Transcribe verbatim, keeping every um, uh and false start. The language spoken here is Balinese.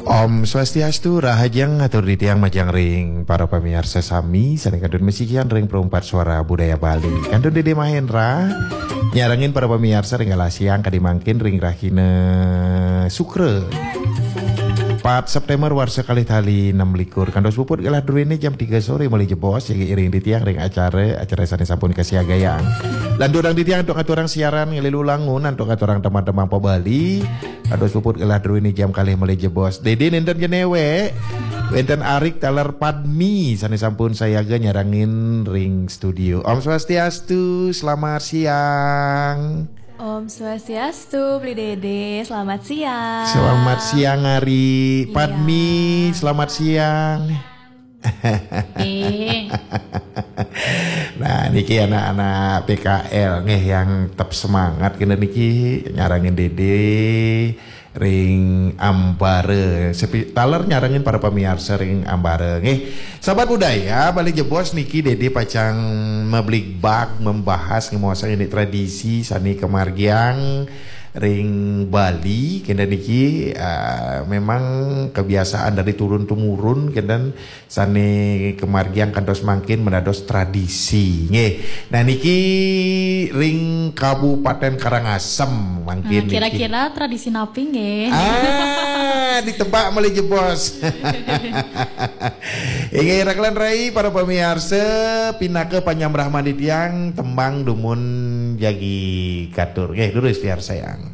Om Swastiastu, rahajeng atur titiang majeng ring para pamiarsa sami sané kantun masikian ring Perumpat Suara Budaya Bali. Kantun Dédé Mahendra nyarengin para pamiarsa ring galah siang kadi mangkin ring rahina Sukra, empat September warsa kalih tali enam likur. Kantos puput galah druéné jam tiga soré malih jebos, jagi iring titiang ring acara, acara sané sampun kasiagayang. Lanturang titiang antuk ngaturang siaran nglilu langun antuk ngaturang tembang-tembang pa Bali. Kantos puput galah druéné jam kalih malih jebos. Dédé nénten jenéwé. Wénten arik taler Padmi sané sampun sayaga nyarengin ring studio. Om Swastiastu, selamat siang. Om Swastiastu, Bli Dédé, selamat siang. Selamat siang, Ari. Iya. Padmi, selamat siang. Eh. Nah, niki anak-anak P K L nggih yang tetep semangat kena niki nyarengin Dédé ring ambara. Sepi, taler nyarengin para pamiarsa ring ambara nggih. Sahabat budaya, malih jebos niki Dédé pacang mabligbag, membahas, ngemaosang indik tradisi sané kamargiang ring Bali, kénten niki, ah, memang kebiasaan dari turun temurun, kénten sané kamargiang kantos mangkin mendados tradisi. Nggih. Nah, niki ring Kabupaten Karangasem mangkin. Nah, niki kira-kira tradisi napi nggih? Ah, ditebak malih jebos. Inggih, rakelan rai para pamiarsa, pinaka panyambrah mandi tiang tembang dumun jagi katur. Nggih, durus piarsayang.